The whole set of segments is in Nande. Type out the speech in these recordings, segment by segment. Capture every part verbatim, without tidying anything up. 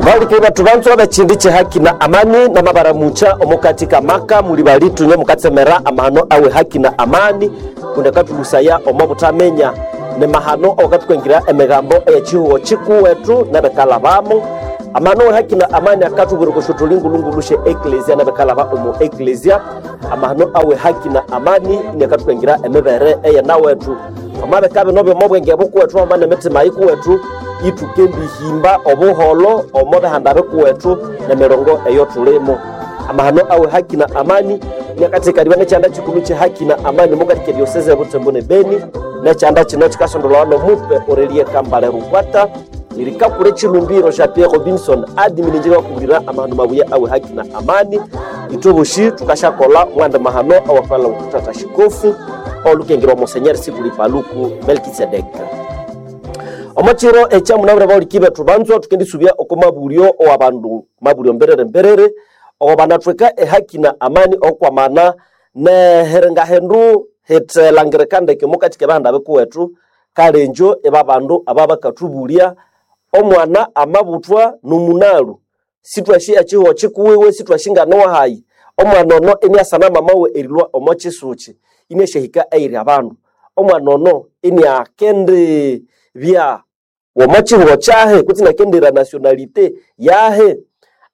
Balike batu banzwa bechindi che haki na amani na mabaramucha omukati kamaka muli balitu mukatsemera amahano awe haki na amani kundakatulusaya omo butamenya ne mahano okatukwengera emigambo eyechihuo chikuwetu nebekalabamo amahano awe haki na amani akatubwira kushutulingu-lungulushe eklesia nebekalaba omu eklesia amahano awe haki na amani inakatukwengera emibere eyenawetu omabeka bino byomo bwenge bukuwetu amane emitima yikuwetu itukendihimba obuholo omo bihanda bikuwetu nemirongo eyo tulimo amahano awe haki na amani nyakatekaniwa nekyanda kikulu kye haki na amani mukatika dioseze butembo ne beni nekyanda kino kikasondolwa nomupe orelie kambale rukwata lirikakule chilumbiro ja Pierre Robinson adimininjira wakubwira amahano mabuya awe haki na amani itoboshi tukashakola mwanda mahano awafala kutata shikofu olukengerwa monsenyeri sikuli paluku melkisedeka omachiro ekyamunabura bahulikibe thubanzwa tukendisubya oko mabulyo owabandu mabulyo mberere mberere owo banathweka ehaki na amani okwamana nehiringahindu hithelangirika ndeke omukati kebahanda bikuwethu kalenjo ibabandu ababakathubulya omwana amabuthwa nomunalu sithwashi ekihuho kikuwiwe sithwashi nganowahayi omwana ono iniasana mamawe erilwa omo kisuki iniasyahika eyiri abandu omwana ono iniakendi bya womo kihuho kyahe kutse inakendera nationalite yahe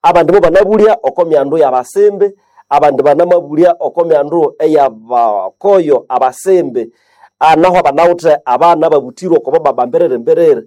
abandi bo banabulya oko myandu yabasembe abandi banamabulya oko myandu eyabakoyo abasembe anaho abanawuthe abana babuthirwe oko baba mberere mberere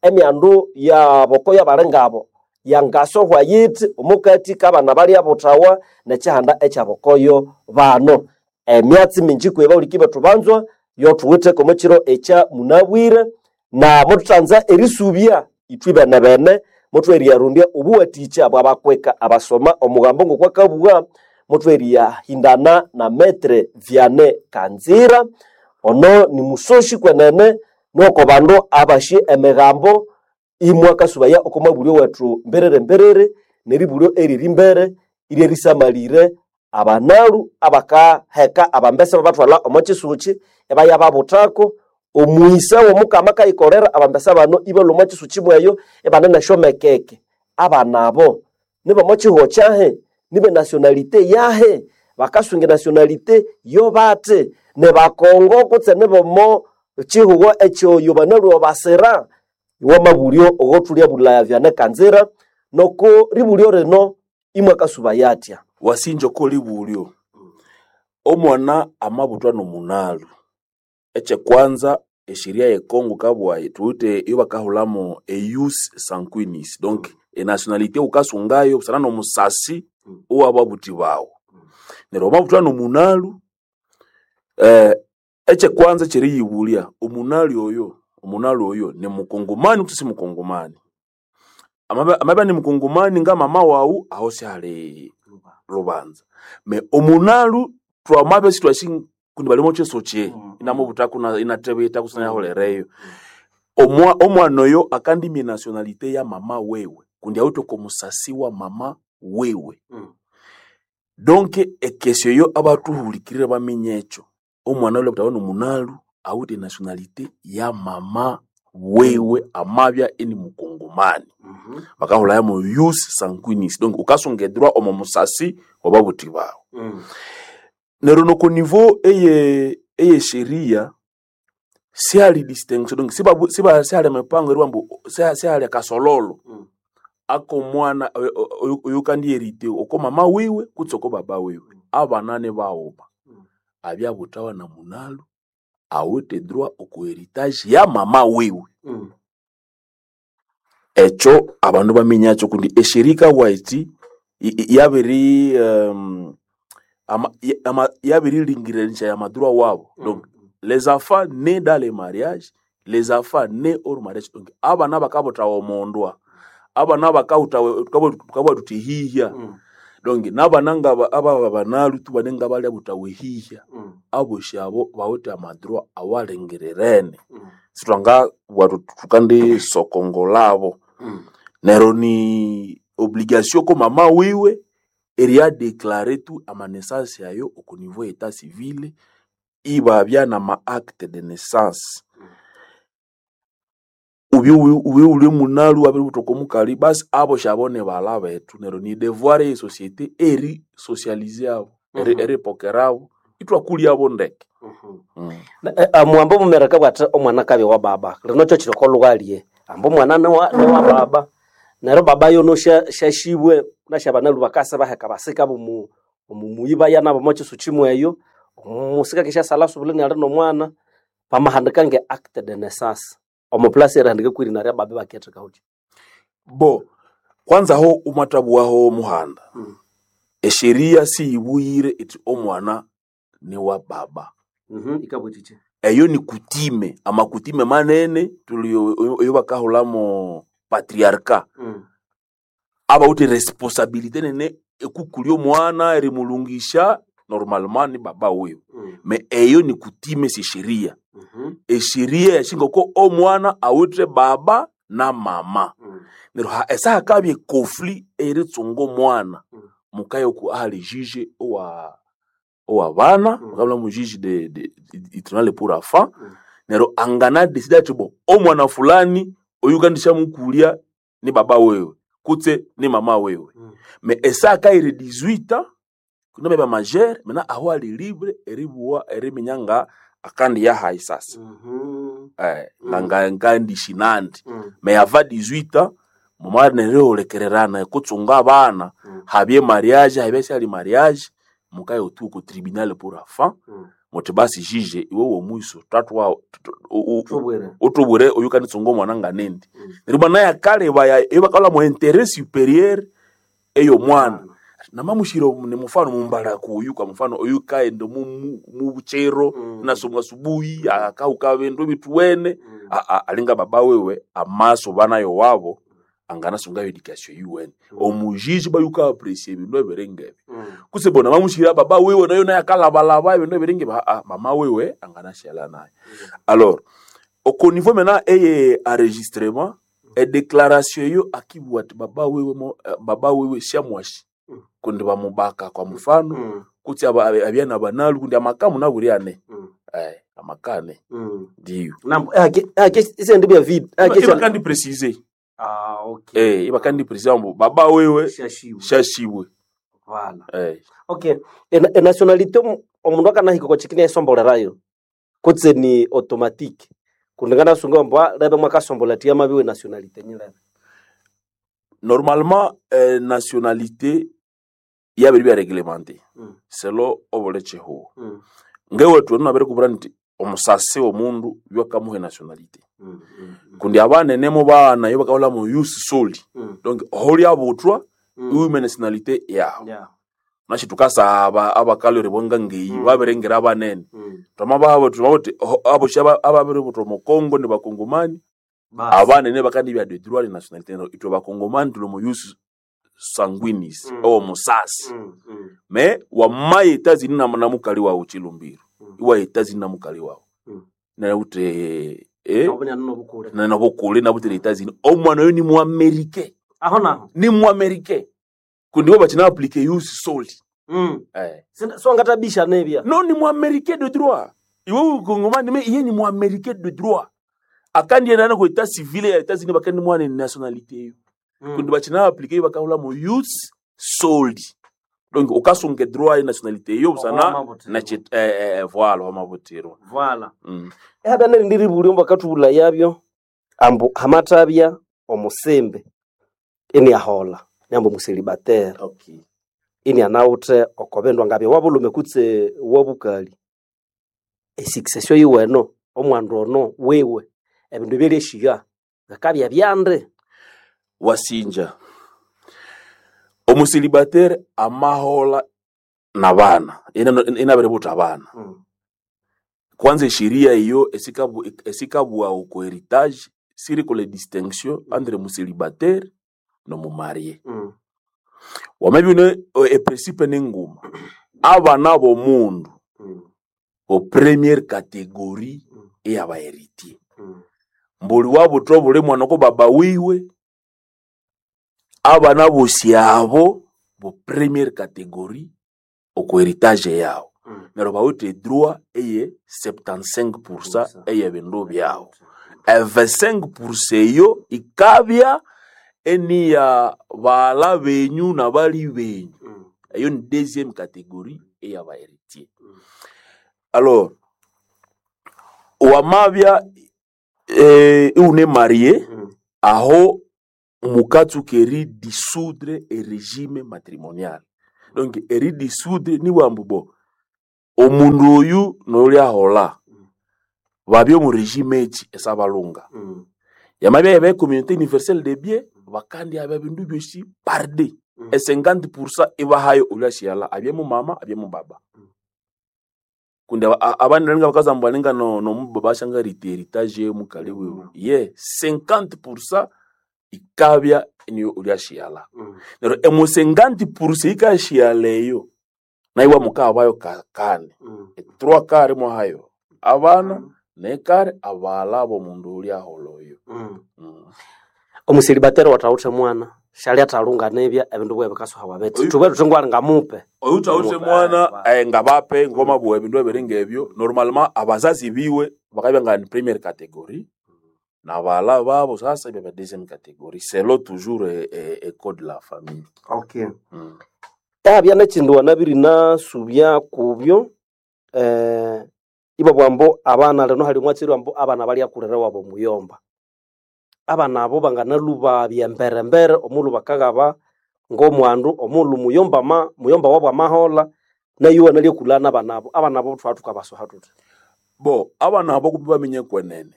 emyandu yabokoyo abalingabo yangasohwa yithi omukati kabana balyabuthawa nekyihanda ekyabokoyo bano emyatsi mingi kweba ulikibe thubanzwa yothuwitheko omukiro ekya munabwire na mututhanza erisubya ithwe bene bene muthweriyarondya obuwathikya bwabakweka abasoma omugambo ngokwakabugha muthweriyahindana na metre Vianney Kanzira ono ni musoshi kwenene noko bandu abashi emigambo imwe akasubaya oko mabulyo wethu mberere mberere neribulyo eriri mbere iryerisamalire abanalu abakaheka abambesa babathwalha omo kisuki ebaya babuthako omwisa womukama akayikolera abambesa bano ibalhwa omo kisuki mweyo ibane nesyomekeke abana abo nibomo kihuho kyahe nibe nationalite yahe bakasunga enationalite yo bathi nibakongo kutse nibomo kihuho ekyoyo banalhwa basira iwamabulyo ogothulya bulaya Vianney Kanzira noko ribulyo rino imwe akasuba atya wasinja ko libulyo omwana amabuthwa nomunalu ekyekwanza esheria ye Congo kabwayi thuwithe iyo bakahulhamu eius sanguinis donc enationalite wukasungayo busana nomusasi owababuthi bawu neryo wamabuthwa nomunalu eh, ekyekwanza ekyeriyibulya omunalu oyo omunalu oyo ni mukongomani kutse si mukongomani amabya amabya ni mukongomani nga mama wawu aho syali lubanza me omunalu twamabya sithwasi kundi bali omukisuki inamubuthaku inathebitha kusina yahulireyo omwa omwana oyo akandimya enationalite ya mama wewe kundi awithe oko musasi wa mama wewe donc ekesyo eyo abathuhulikirire baminya ekyo omwana oyo abuthawa nomunalu awithe enationalite ya mama wewe amabya ini mukongomani bakahulhayamu ius sanguinis donc wukasunga edroit omo musasi wababuthi bawu neryo noko niveau eye eyesheria sihali distinction donc sibabu- siba sihali emipango eribugha ambu siha- sihali akasololo akomwana oyukandiyerite oko mama wiwe kutse oko baba wiwe abana nibaghuma abyabuthawa na munalu awithe droit oko heritage ya mama wiwe ekyo abandu baminyakyo kundi esheria ikabugha yithi i- i- yabiri um, ama, ya- ama, yabirilingiranishaya amadroit wabo donc les enfants nés dans le mariage les enfants nés hors mariage donc abana bakabuthawa omondwa abana bakahuthawa tukabugha thuthi hihya donc nabana ngaba ababa banalu tu bane ngabalyabuthawa ehihya abosi abo bawithe amadroit awalengererene sithwangabugha thuthi thukandisokongolabo neryo ni obligation ko mama wiwe eriya declare tu amanessances ayo oko niveau ya etat civil ibabya nama acte de naissance ubye ubye uli munalu wabiri omukali basi abo shabone bala betu neryo ni devoir ye société eri socialiser abo eri Mhm. eripokerabo itwakuliabo ndeke mm. Muambo mumereka bwati omwana kabya wa baba lino kyo kiri kolughalye ambu omwana niwa niwa baba neryo baba yono sha- shashibwe nashabanalu bakasa baheka basika bomu omumuyi baya nabo omo kisu kimwe eyo omusika keshasala subule niali nomwana bamahandika nge acte de naissance omo place erihandika kwirina rya baba baketheka huki Bo kwanza ho umatabuwaho muhanda Mm. esheria siyibuyire iti omwana ni wa baba Mhm, ikabwetiche eyo ni kutime amakutime manene tuli eyo bakahulamo patriarka mm. abawuthi responsabilité nene ekukulya omwana erimulungisha normalement ni baba wiwe Mm. me eyo ni kutime si sheria Mhm. esheria yashinga ko omwana awithe baba na mama Mm. neryo ha- esahakabya ekofli eritsunga omwana Mm. mukayoku ahali juge owa owa bana Mm. mukabula mu juge de, de, de, tribunal pour enfants Mm. neryo angana decide ati bo omwana fulani oyu kandishamukulya ni baba wewe kutse ni mama wewe Mm. me esaka iri dix-huit ans kuna beba majeur mena aho ali libre eribuwa eriminya nga akandi yahayi sasa Mhm. eh, Mm. nga nga ngandishinandi Mm. me yava dix-huit ans mumara nerihulekererana ekutsunga abana Mm. habye mariage habye syali mariage mukaye otuko tribunal pour enfants Mm. muti basi juge iwe womwiso tatwa Thubwire. utubwire oyu kanitsunga omwana nganindi Mm. neryo bwana yakaleba eyo bakalha mu intérêt supérieur ey'omwana namamushira ni mufano mumbala kuyu kwa mfano oyu kaenda mu mu- mu buchero Mm. nasomwa subuhi akauka bindu bituwene Mm. A- a- alinga baba wewe amaso banayo wabo anganasunga education yuwene omujiji bayuka appreciate ebindu ebiringa Mm. kuse bona mamushira baba wewe nayo naye akalabalaba ebindu ebiringa ebi, ah, mama wewe anganashala naye alors au niveau maintenant eye enregistrement e déclaration yo akibwa ati baba wewe mo, eh, baba wewe shamwashi Mm. kundi bamubaka kwa mfano Mm. kuti aba- abe- abyana banalu kundi amakamu naburi ane Mm. eh amakane Mm. ndiyo Nambo ake ake isendi bya vid ake iba kandi préciser Ah okay. eh iba kandi préciser mbu baba wewe Shashiwe. shashiwe Voilà. eh Okay. E, e nationalité omu- omundu akanahika kwa chikini esombolerayo kutse ni automatique kundingana sunga mbwa lebe mwakasombola tia mabiwe nationalité nyilebe. normalement eh, nationalité yabiri bya réglementé Mm. selo obulecheho Mm. ngewe tu nabere kubura nti omusasi omundu yakamuhe nationalité Mm. Mm. kundi abanene mu bana yo bakabula mu use soli Mm. donc holi abutwa Mm. iwime nationalité yawo Yeah. nashi tukasaba abakalore bonga ngeyi Mm. baberengera abanene Mm. twama babo tumauti abo shaba ababere butwa mu Kongo ni bakongomani Bas. abanene bakandi bya de droit de nationalité no itwe bakongomani tulo mu use sanguinis Mm. o musasi Mm. Mm. me wamaye Etats-Unis na na mukali wawo chilumbiro Mm. iwa Etats-Unis na mukali wawo Mm. na ute eh Nabone ano bukure. na nabokole na butele Etats-Unis omwana oyo ni mu Amerique Aho naho. ni mu Amerique kundi bo bakina appliquer use soli Mm. eh Sinda- So ngatabisha nebya. non ni mu Amerique de droit iwe ukongomani me iye ni mu Amerique de droit akandi ena ko état civil ya Etats-Unis bakandi mwana ni nationalité yo Mm. kundi bakina appliquer bakahula mu use soli donc okasunga droit ya nationalité yo busana Wamabutirwa. na chit eh, eh, voilà wamabutirwa Voilà. mm. Ehaba nerindi buli mbakatubula yabyo ambu hamatabya omusimbe ini ahola nyambo muselibatera okay ini anawuthe okobendwa ngabya wabulume kutse wabukali esuccession yiweno omwandu ono wiwe ebindu ebyelyeshiga ngakabya byande wasinja omusilibatere amahola na bana inabere buta abana kwanza esheria iyo esikabu- esikabwa uko heritage siri kole distinction entre musilibatere no mumarie wamabine eprincipe nenguma abana bomundu bo première catégorie eyaba héritier mbuli wabutwa buli mwana ko baba wiwe abana bosi abo bo première catégorie oko héritage yawo neryo bawithe droit eye soixante-quinze pour cent eyebindu byawo. E vingt-cinq pour cent eyo ikabya eniya baghala benyu nabali benyu. Eyo ni deuxième catégorie eyaba héritier. Alors wamabya eh, iune marié, aho mukatsuka eri dissoudre erégime matrimonial. Donc eri dissoudre ni bwambu bo omundu oyu nolyahola babya omu régime eki esabalunga yamabya yaba communauté universelle de biens, bakandi abya bindu byosi par deux e cinquante pour cent ibahayo olyashyala abye mumama abye mubaba, kundi abandi nalinga bakazamba balinga no nomubaba ashanga riti héritage mukali wiwe ye cinquante pour cent ikabya niyo olyashyala. Neryo emu cinquante pour cent ikashyala eyo naiwa mukabayo kane trois quarts mwahayo abana nekare abala bomundu ulyahola oyo. Mm. Omuselibateri watawuthe mwana shali atalunga nebya ebindu bwe bikasuhawa biti Oyu- thubwe thuthi ngwali ngamupe. Oyu tawuthe Mupe, mwana eh, eh, ngabape ngoma bwe ebindu ebiri ngebyo, normalement abazazi biwe bakabya nga ni première catégorie na bala babo sasa ibya deuxième catégorie, selon toujours eh, eh, eh, code de la famille. Okay. Mm. Abya nekindu wanabiri nasubya kubyo eh, ibo bwambo abana lino hali omwatsiri wambo abana balyakulira wabo muyomba, abana abo banganaluba byemberembere omulhu bakaghaba ng'omwandu omulhu muyomba ma muyomba wabo amahola nayo wanalyakulana abana abo abana abo thwa thukabasuha thuthi. Bo abana abo kumbi bamenye kwenene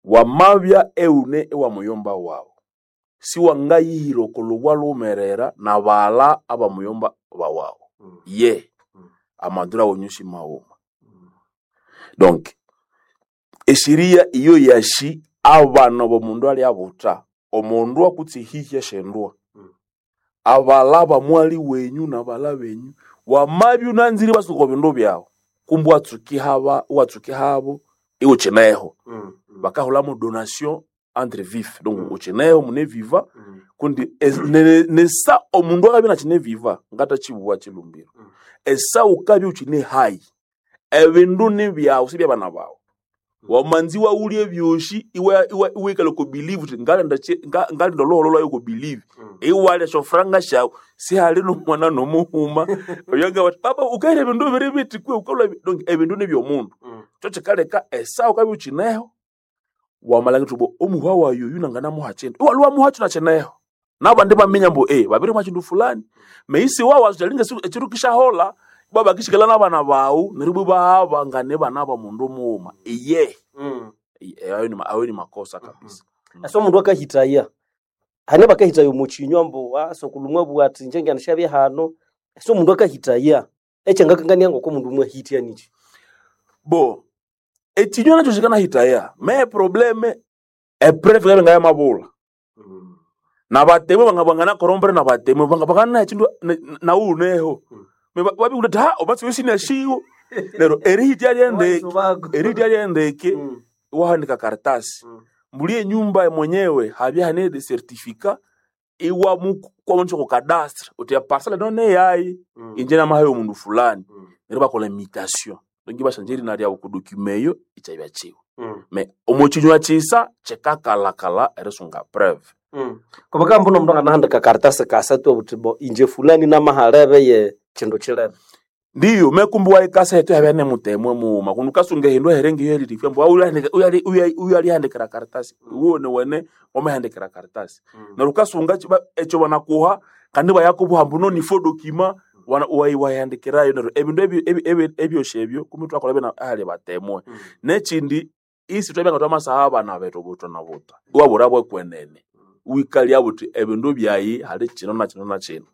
wamabya eune ewa muyomba wawu siwangayihira okolobwa lhumerera na bala abamuyomba bawawu ye amandura wonyushi maghuma. Donc eshiria iyo yashi abana bomundu alyabutha omundu akutse hihya shendwa abala bamwali wenyu nabala benyu wamabya unanzire basuka bindu byawu kumbi watsuki haba watsuki habo iwe ukineho bakahulamo donation entre vif, donc Mm. ukineho mune viva kundi es- ne- nesa omundu akabya nakine viva ngatachibuwa chilumbiro. Mm. Esa ukabya ukine hai ebindu nibyawu sibyabana bawu wamanzi waulye byoshi iwe iwe iwikale ku believe uthi ngalinda chi- nga- ngalinda oloholo lwayo ku believe iwalya shofranga shawu sihali nomwana nomuhuma oyonga bati baba ukaira ebindu biri biti kwe ukalwa bi-" Donc ebindu nibyomundu kyo kikaleka esa ukabya ukineho wamalanga tubo omuhwa wayo oyu nanganamuha kindu iwalwa wamuha kino kineho nabandi baminya mbu eh babiri mwa kindu fulani meisi wawu alinga ekiru kishahola baba kishikala nabana bawu neryo bwe bahaba ngane bana ba mundu mughuma iye. Iye, ayo ni ma- ayo ni makosa kabisa. Asa omundu akahitaya hane bakahitaya omukinywa mbu asokulumwa bwa ati inje nganishabye hano asa omundu akahitaya ekyangakangania ngoko omundu mwahitya niki. Bo ekinywa nakyo kikanahitaya me probleme epreve kabe ngayamabula nabatemu banga bangana nabatemu banga bangana ekindu nauneho babikuti ha obatsi wesinashiwo lero erihitya lyendeke erihitya lyendeke wahandika karatasi mbuli enyumba mwenyewe habya hane de certificat iwa mukwamonsha ku cadastre uti ya parcelle none yayi inje namahayo omundu fulani neryo bakola imitation donc ibashanja erina lyawu ku document eyo ikyabya kyiwe me omo kinywa kyisa kyikakalakala erisunga preuve. Kubaka mbuno omundu anganahandika karatasi kasatu obuthi bo inje fulani namahalebe ye kindu kilebe. Ndiyo mekumbi waikasa hetu yabya nemutemwe muuma kundi ukasunga ehindu eherenge iyo elirifya mbu uyu alihandikira karatasi uwone wene wamahandikira karatasi neryo ukasunga ki- ekyo banakuha kandi bayakubuha mbu no nifo dokima wayihandikirayo neryo ebindu ebi- ebi- ebi- ebyosi ebyo kumi twakola bina ahali batemwe. Nekindi isi twabya nga twamasaha abana bethu buthwa na buthwa iwabura bwekwenene wikalya buthi ebindu byayi hali kino na kino na kino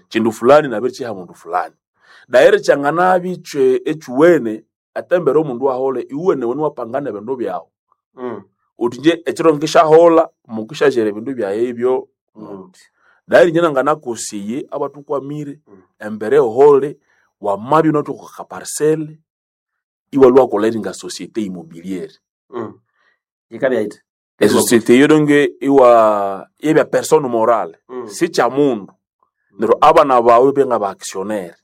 kindu fulani nabirikiha mundu fulani dairi kyanganabi kye ekyuwene atembere omundu ahole iwene wene wapangana ebindu byawu uthi nje ekiro nkishahola mukishajera ebindu byaye ebyo muthi dairi nje nanganakusiye abatukwamire embere ehole wamabya unathuka kaparcele iwalwa wakolha eringa société immobilière. Yikabya yithi Esociété eyo donge iwa yebya personne morale sikya mundu neryo abana bawe benga ba actionnaire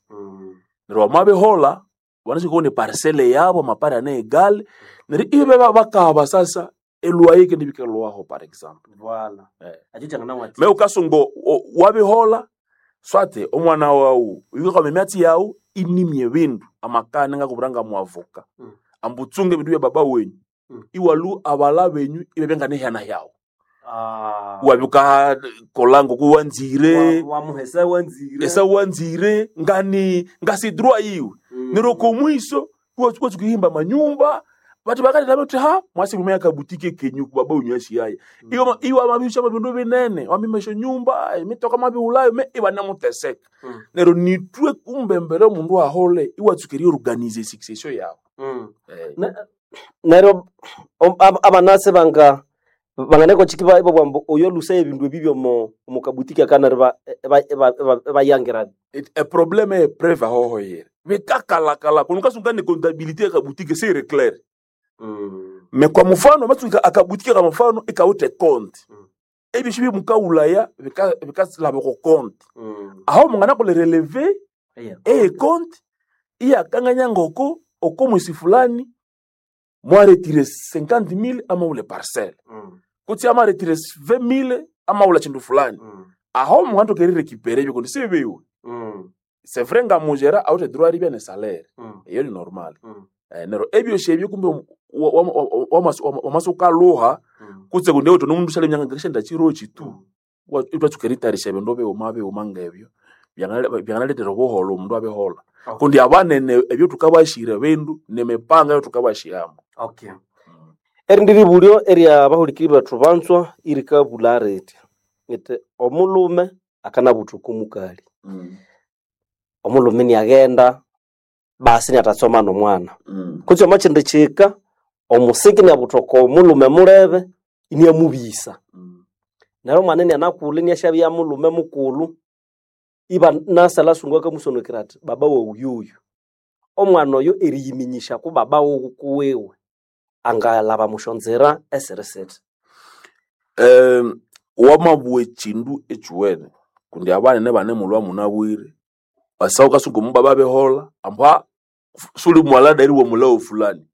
neryo wamabihola wanashika ni parcele yabo mapari ane egale neryo ibe bakaba sasa. Elwaye kendi bikelwaho par exemple. Voilà. Eh. Acho changana Me ukasungo wabihola swate omwana wawu yuka emyatsi yawu inimye bindu amakane ngakubura muavoka Mm. ambutsunge bindu bya baba wenyu Mm. iwalu abala benyu ibebya nehana yawu Ah. wabyuka kolango kuwanzire Wa muhesa wanzire. esa wanzire ngani ngasidrwa iwe Mm. nero komwiso watsukihimba manyumba bati bakati naboti ha mwasi mumea kabutike kenyu kubaba unywashiyaye Mm. iwa iwa mabisha mabindu binene wamimesho nyumba emitoka mabiulayo me iwa namuteseka Mm. nero nitwe kumbembere omundu ahole iwatsukeria organize succession yawe Mm. eh. Ne- Neryo om- ab- abanase banga banganeko chikiba ibo bwambo oyo lusa ebindu ebibyo mo mukabutiki akana riba bayangira Et- e problème e preuve ahohoyere bikakalakala kuno kasunga ni comptabilité ya kabutike c'est clair mm. me kwa mfano matsuka akabutike kwa mfano ikaute compte Mm. ebisho bimukaulaya bikasilaba ko compte Mm. aho mungana kole relever Yeah. eye compte iyakanganya ngoko oko mwisi fulani mwaretire cinquante mille ama ule parcelle Mm. kutsi ama retire vingt mille ama ula chindu fulani Mm. aho mungana tokeri récupérer ebyo kundi sibiwe Mm. c'est vrai nga mugera awute droit ribya ne salaire Mm. eyo ni normal Mm. eh, nero ebyo shebyo kumbe wamasukaluha Mm. kutse kunde uto nomundu shale myanga ngashenda chirochi tu Mm. itwatsukeritarisha ebindu bighuma bighuma ngebyo byangaletera obuholo omundu abihola Okay. kundi abanene ebyo tukabashira bindu nemipanga eyo tukabashiramo Okay. Erindi ribulyo erya bahulikiri bethu banzwa irikabula riti iti omulume akanabuthuka omukali omulume niaghenda basi niatatsoma nomwana kutse omo kindi kika omusiki niabuthuka omulume mulebe iniamubisa neryo omwana inianakulha iniasyabya mulume mukulhu iba nasalha sungu akamusonokera athi baba wawu yoyu omwana oyo eriyiminyisya ku baba wuwe kuwiwe angalhaba musyonzira esiri sithi Um, wamabua ekindu ekiwene kundi abanene banemulwa munabwire asawu kasungu mubaba behola ambwa suli mwala dairi wa mulao fulani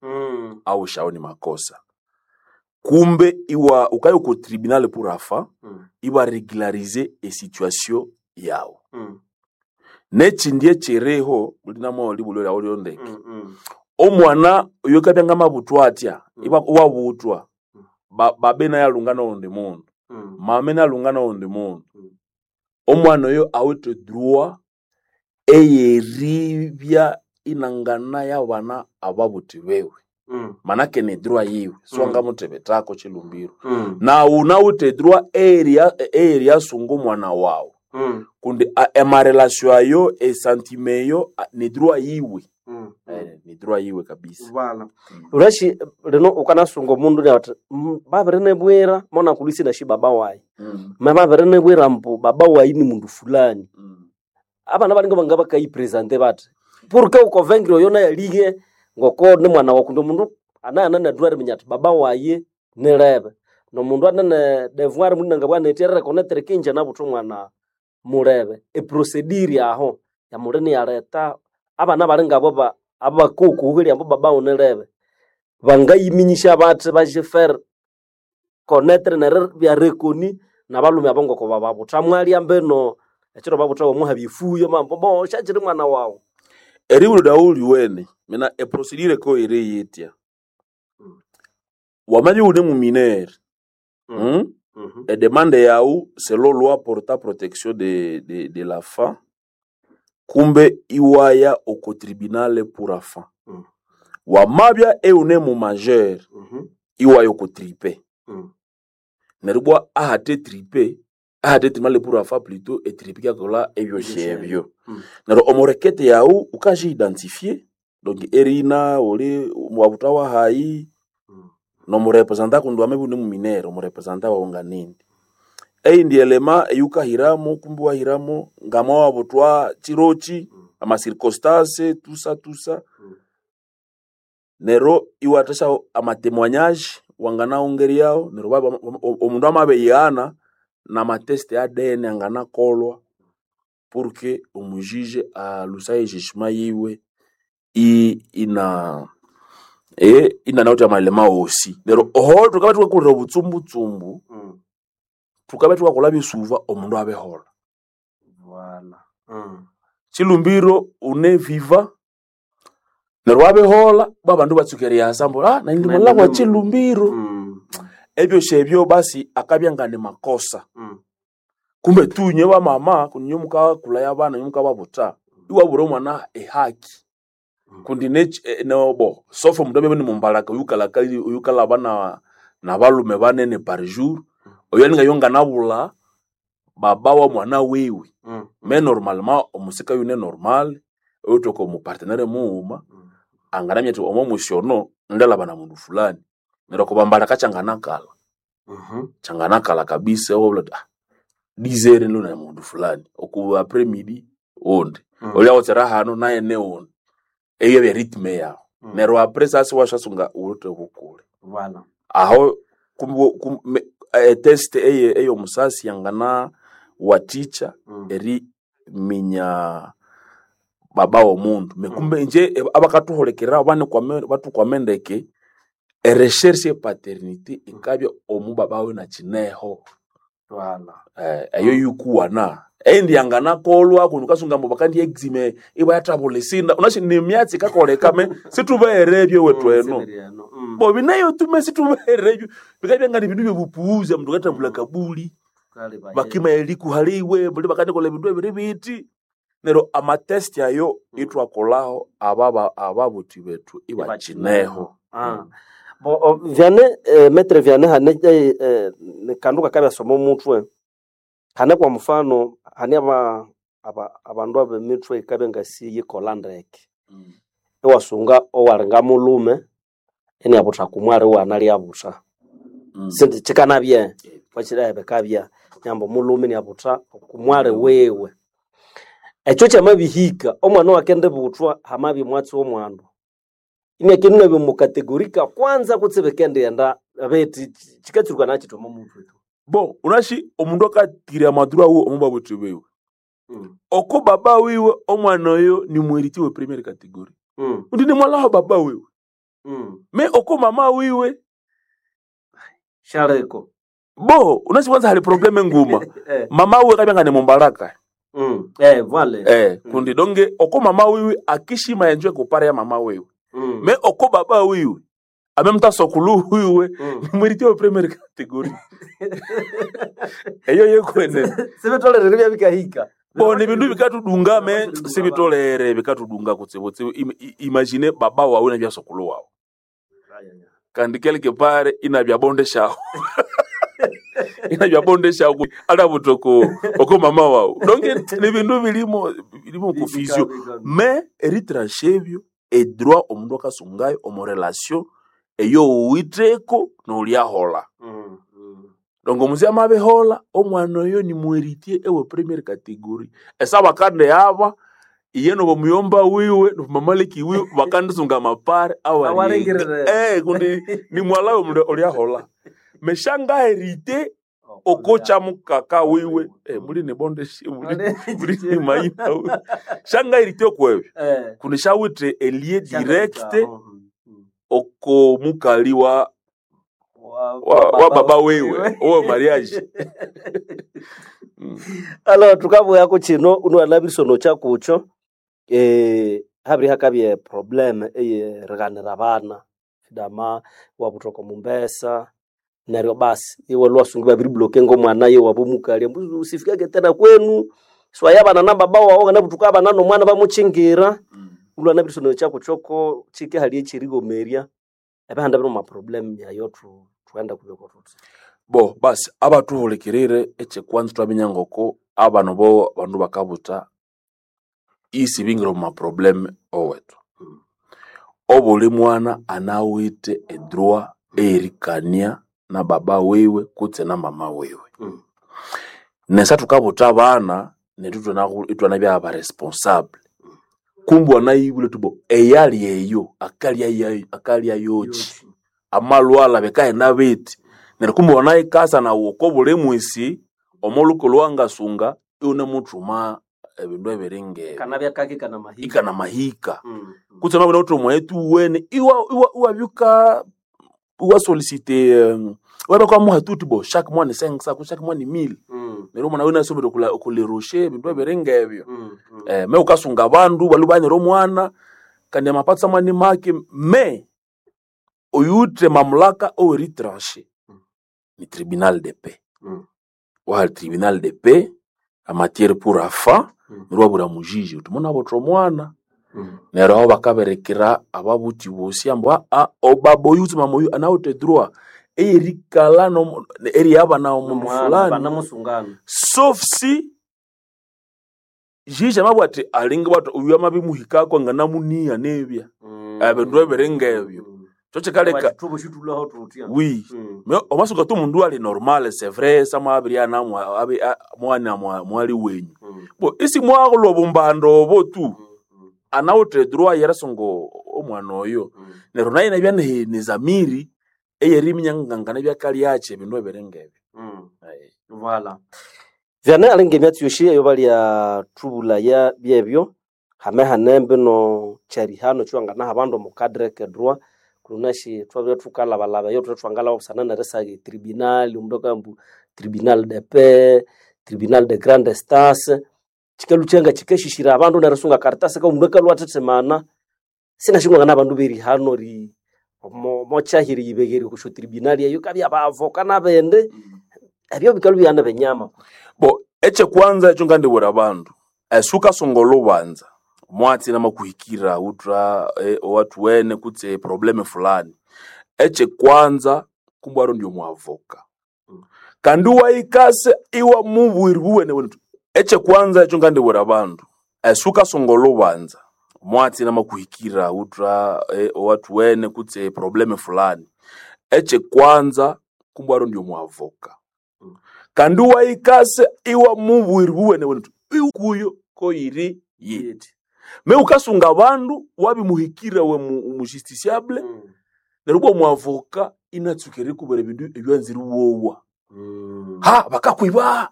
au shawo ni makosa kumbe iwa ukayo ku tribunal pour afa iba regulariser e situation yawo nekindi ekiriho mulinamo libulyo lyawo lyondeke omwana oyo kabya ngamabutwa atya iwa wabutwa ba, babe naye alunga nowundi mundu mame nalunga nowundi mundu omwana oyo awithe droit eyeribya inangana yabana ababuthi bewe manake ni droit yiwe siwangamuthebethako chilumbiro nawu nawuthe droit eyeria eyeriasunga omwana wawu kundi a- emarelation ayo esentiment eyo a- ni droit yiwe Eh, ni droit yiwe kabisa urashi lino ukanasunga omundu niathi babirinibwira monakulisi nashi baba wayi me babirinibwira mbu baba wayi ni mundu fulani abana balinga banga bakayipresente bathi porque ukovengire oyo nayalige ngoko ni mwana waku ndi omundu anayana nedroit eriminya athi baba wayi nilebe nomundu anene devoir mundu nangabwa nethi erirekonetere kinje nabutha omwana mulebe eprosediri aho yamuli niyaleta abana bali ngabo ba- abakukuhuhirya ambu baba wunilebe bangayiminyisya bathi bajifere konetere neribya rekoni nabalume abo ngoko bababutha mwalya mbino ekiro babutha wamuhabya efuyo mambo bo syakiri mwana wawu eribulyo lyawu liwene mina eprocedure ko iri yitya wamabya iwune muminere mm? edemande yawu selon loi portant protection de, de, de l'enfant kumbe iwaya oko tribunal pour enfant Mm. wamabya eune mu majeur iwaya oko tripe neryo bwa ahate tripe ahate tribunal pour enfant plutôt etripe kyakola ebyosi ebyo Mm. neryo omurekete yawu ukaji-identifier donc erina uli wabutha wahayi nomurepresenta kundi wamabya iwune muminere omurepresenta wawu nganindi eyindi elema eyukahiramo kumbi wahiramo ngama wabuthwa chirochi ama circonstance tusa tusa nero iwathasya amatémoignage wanganaongeryawo neryo baba- omundu amabeyana namateste A D N anganakolwa pour que omujuge alusaye jugement yiwe i- ina Eh inanawuthi amalema wosi neryo oho tukabya thukakolera obutsumbutshumbu Mm. tukabya thukakolha byesuva omundu abiholha Voilà. Mm. chilumbiro une viva neryo wabiholha babandu batsuka eriyasa ambu ah nandi Nandi kwa ndi- chilumbiro Mm. ebyosi ebyo basi akabya nga ni makosa Mm. kumbe tu nye bamama kunye mukakulaya abana nye mukababutha iwabura omwana ehaki Mm. kundi ne eh, nobo sofa omundu abebe ni mumbalaka oyukalakali oyukalaba na nabalume banene par jour oyo alinga yo nganabula baba wa mwana wiwe Mm. me normalement omusika yune normal oyutoka omupartenere mughuma Mm. anganamya athi omo musyono ndalaba na mundu fulani neryo okubambalaka kyanganakala Mhm. kyanganakala kabisa wabula uthi, ah dizere nilo na mundu fulani oku après midi undi Mm. olyawotsera hano naye ne undi eyo bya rythme yawo Mm. neryo après sasa washasunga uwuthe bukule Voilà. aho kum, kum, me, eh, test eye eyomusasi yangana waticha Mm. eri minya baba womundu mekumbe nje eh, abakathuhulikirira banikwame batukwame ndeke erecherche e paternité ikabya omu baba we nakineho Voilà. eh, eyo yukuwana endi yanganakolwa kundi ukasunga mbu bakandi exime ibayathabula esinda unashi nemyatsi ikakoleka me situbeherebyo wethu Mm, eno sibiri eno. Mm. bo bineyo tume situbeherebyo bikabya nga ni bindu byobupuuza mndu katambula kabuli Kale baye. bakima elikuhaliwe buli bakandikola ebindu ebiri biti neryo amatesti ayo itwakolaho ababa ababuthi bethu ibakineho Ah. Bo o, vyane eh, metre vyane hane eh, eh, kandu kakabyasoma omutwe hane kwa mfano hane aba aba abandu abemitwe ikabya ngasi yikola ndeke iwasunga owalinga mulume iniabutha kumwali wana lyabutha Mm. sindi kikanabye wakira bikabya nyamba omulume iniabutha kumwali wiwe ekyo kyamabihika omwana wakendibuthwa hamabya omwatsi w'omwandu iniakenunabya omu kategori ka kwanza kutse bikendighenda beti kikatsuruka nakiti omo mutwe tu bo unashi omundu akatira amaduru awo omu babuthi biwe Mm. oko baba wiwe omwana oyo ni mweriti we première category Mm. undi ni mwalaho baba wiwe Mm. me oko mama wiwe Shareko. bo unashi kwanza hali probleme nguma Eh. mama wiwe kabya nga ni mumbalaka Mm. Eh, vale. eh kundi donge oko mama wiwe akishima enjwe kupara ya mama wiwe Mm. me oko baba wiwe amemtasokulu wiwe Mm. ni mweriti we première category eyo yekwenene Sibitolere bya bikahika. bo ni bindu bikatudunga me Bikatudunga sibitolere bikatudunga kutsibutsibu Im- i- imagine baba wawe na byasokulu wawe kandi quelque part ina byabondeshawo ina byabondeshawo ala butoko oko mama wawe donc ni bindu bilimo bilimo confusion mais eritranche ebyo edroit omundu akasungayo omu relation eyo owiteko nolyahola Mm. Mm. donc omuzi amabihola omwana oyo ni muheritier ewe première category esa bakande aba iye nobomuyomba wiwe nobumamaleki wiwe bakandisunga amapare awaringa Awaringirire. eh kundi ni mwala we mundu olyahola meshanga herite okocha mukaka wiwe eh, muli ni bonde shi muli muli ni maina wiwe shanga herite okwebyo Eh. kundi shawithe elie direct Mm. Mm. oko mukali wa Wa, wa, wa baba wiwe owe mariage mm. Alors tukabuya kino unuwalabirisono kyakucho eh habiri hakabye problem eyerighanira abana dama wabuthoka mumbesa neryo basi iwe lwasungi babiribloke ngomwana ye wabomukali mbu usifikage tena kwenu swaya bana na baba wawo kana butuka abana nomwana bamuchingira Mm. ulwanabirisono kyakuchoko chike hali echirigomerya ebihanda biri mu problem yayo tu twenda kubeko tuti bo basi abatuhulikirire ekyekwanza twaminya ngoko abano bo bandu bakabutha isi bingira omu maprobleme owethu obuli mwana anawithe edroit eyerikania na baba wiwe kutse na mama wiwe Mm. nesa thukabutha abana nethu ithwana- ithwanabya abaresponsable kumbe wanayibwile tubo eyali eyo akalya yayo- akalya yoki amalwala bikaghenda bithi neryo kumbe wanayikasa nawu oko buli mwisi omolhuko lwangasunga iwunemuthuma ebindu ebiringe Kanabya kake kana mahika. Ikana mahika. Mm. Kutse mabona uthi omwetu wene iwa iwa iwabyuka iwa solicite um, wabeka muhatuti bo chaque mois ni cinq cents chaque mois ni mille. Mm. Neryo omwana wina asomere kula kuleroshe ebindu ebiringa ebyo. Mm. Mm. Eh, me ukasunga abandu balubanira omwana kandi amapatsa mani make me oyute mamlaka oweritranche Mm. ni tribunal de paix. Mm. Wa tribunal de paix a matière pour afa Mm. neryo wabura mujiji uti muna botha omwana. Mm. Neryo aho bakaberekera ababuthi bosi ambu aa obaba oyu utsi mama oyu anawithe droit eyerikalha nomu- eriyabana omundu Nomwana, fulani banamusungana. sauf si jiji amabwira athi alinga bwati oyu amabimuhikako anganamuniya nebya. Mm. Ebindu ebiringa ebyo Mm. kyo kikaleka. Thubo tutya. Oui. Mm. Mais omasuka tu mundu ali normal, c'est vrai, samabirya mwana mwali wenyu. Mm. Bo isi mwaghulwa obumbando obo tu Mm. Mm. anawithe droit yerisunga omwana oyo. Mm. Neryo naye nabya ne- nezamiri eyeriminya ngangana byakalyakyi ebindu ebiringa ebyo. Mm. Aye. Voilà. Vyane alinga emyatsi yosi eyo balya thubulaya byebyo hame hanembe no kyarihano kyanganaha abandu omu cadre ke droit kunashi twabya thukalabalaba eyo thwe thwangalaba busana nerisaga etribunal omundu akambu tribunal de paix, tribunal de grande instance kyikalhu kyanga kyikashishira abandu nerisunga karitasi ka omundu akalhwa athithimana sinashingwangana abandu berihano ri omo mokyahiri yibegheri okusyo tribunal eyo kabya abavoka nabindi ebyo bikalhu byana benyama. Bo ekyekwanza ekyo ngandibwira abandu esukasunga olubanza mwatsi namakuhikira utra eh, owathuwene kutse probleme fulani ekyekwanza kumbwaro ndio mwavoka kandi wayikase iwa mubwiri buwene wene ekyekwanza ekyo ngandibwira abandu esukasunga olubanza mwatsi namakuhikira utra eh, owathuwene kutse probleme fulani ekyekwanza kumbwaro ndio mwavoka kandi wayikase iwa mubwiri buwene wene kuyo koyiri yiti me ukasunga abandu wabimuhikira we mu, mu justiciable. Mm. Neryo ubwo mwavoka inatsuka erikubera ebindu ebyanzire wowa. Mm. Ha bakakwiba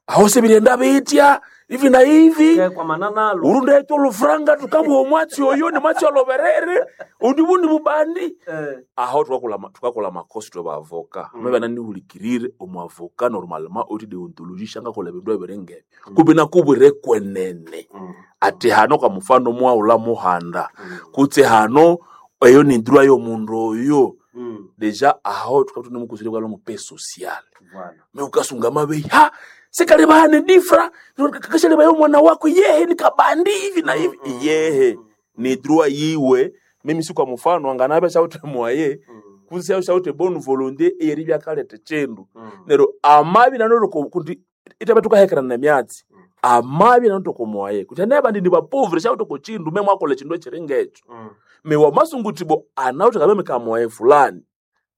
aho sebirenda bitya hivi na hivi. Ke kwa mananalo. Urundete olufuranga tukamuha omwatsi oyo ni mwatsi oloberere undi bundi bubandi. Eh. Aho tukakola tukakola makosi twe bavoka. Mm. mm. Mebe omwavoka normalement oti deontologie shangakola ebindu ebiringa ebyo kubi nakubwire kwenene. Mm. Ati hano kwa mfano mwaula muhanda Mm. kutse hano eyo ni droit y'omundu oyo. Mm. Deja aho tukaba tunemukusire kwalo mu paix sociale. Voilà. Me ukasunga mabeyi ha sekalebahane difra kashaleba omwana wako yehe ni kabandi hivi na hivi. Mm, mm, Yehe mm, ni droit yiwe mimi si kwa mfano anganabe shaute mwaye Mm. kusi shaute bonne volonté eyeri byakaleta chindu. Mm. Nero amabi nanoro kuti itabe tukahekerana na myatsi. Mm. Amabi nanoro komwaye kuti neba ndi bapovre shaute ko chindu me mwakola chindu echiringa echo. Mm. Me wamasungu anauti kabeme kamwaye fulani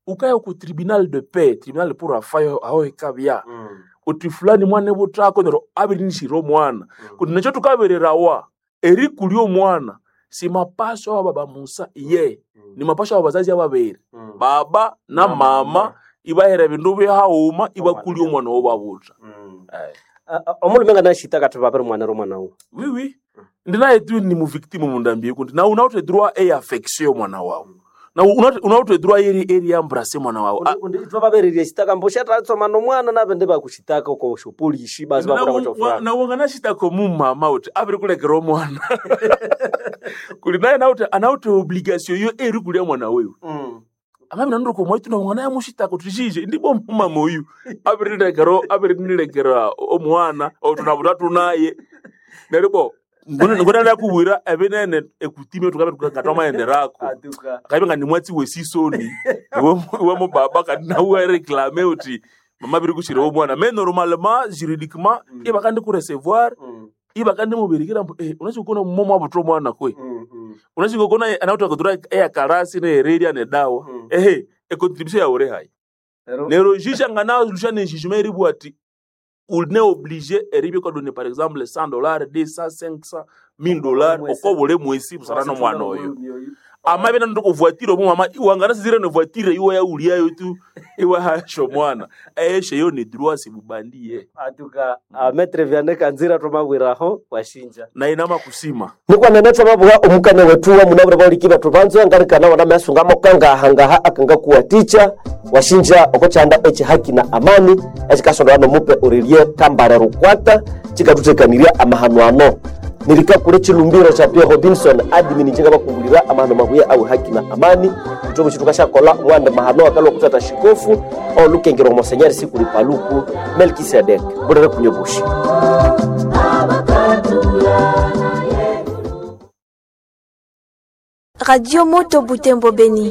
ukaya ku tribunal de paix tribunal pour afayo aho ikabya. Mm. Uti fulani mwana butako nero abirinishira omwana. Mm. Kuti necho tukabererawa erikuli omwana si mapaso aba baba Musa iye. Mm. Ni mapaso aba bazazi ababiri. Mm. Baba na Na mama mama. ibahera ebindu byahauma ibakuli Omwana. omwana wobabuta. Mm. Eh. Omulume nga nashita kati babiri mwana ro mwana wo. Oui oui, ndinaye tu ni muvictime mundambie kuti na unawute droit e affection mwana wawe na unawute unawute droit eri eri embrasser mwana wawe. Undi undi itwa babererie shitaka mbo shatatsoma no mwana nabende bakushitaka uko shopolishi basi bakora kwa chofra. Na wanganashitako mumama uti abiri kulekera omwana kuli naye nawute anawute obligation yo eri kulya mwana wewe. Mm. Amabi nanuro komwaitu na mwana yamushitako tishije ndipo mumama oyu abiri lekero abiri nilekera omwana otunabuta tunaye neryo bo ngona ndakubwira ebinene ekutime tukabe tukatwamaenderako. Atuka. Akabe nga nimwatsi wesisoni iwe iwe mubaba kandi nawe reklame uti mama biri kushira omwana mais normalement juridiquement Mm. ibakandi ku recevoir Mm. ibakandi mubirikira mbu eh unachikona mumomo abuto omwana kwe. Mm. Mm. Unachikona anauta kutura eya karasi ne hereria ne dawa. Mm. Ehe e contribution ya ore hai. Ero. Nero jisha ngana lusha ne jugement eribu ati une obligé eribye ko donner par exemple cent dollars deux cents cinq cents mille dollars Mwesi. okobule mwesi busana no mwana oyo. Amabya nandoko voiture omo mama iwanganasizire ne voiture iwe yauliayo tu iwe hasho mwana eshe yo ni droit sibubandiye Atuka uh, Maître Vianney Kanzira twamabwiraho washinja na inama kusima nikwanene twamabugha omukane wetu wa munabure bauliki bethu banzo ngarikana wana mesunga mokangaha ngaha akangakuwaticha washinja okochanda echi haki na amani echikasondola nomupe Aurelie Kambare Rukwata chikathuthekanirya amahano ano nirikakule chilumbiro cha Pierre Robinson admin chinga bakungulira amahano mabuya awe haki na amani itobo chitu kashakola mwande mahano akalwa kutata shikofu olukengero mosenyeri sikuli paluku Melkisedek bulere kunyobushi Radio Moto Butembo Beni.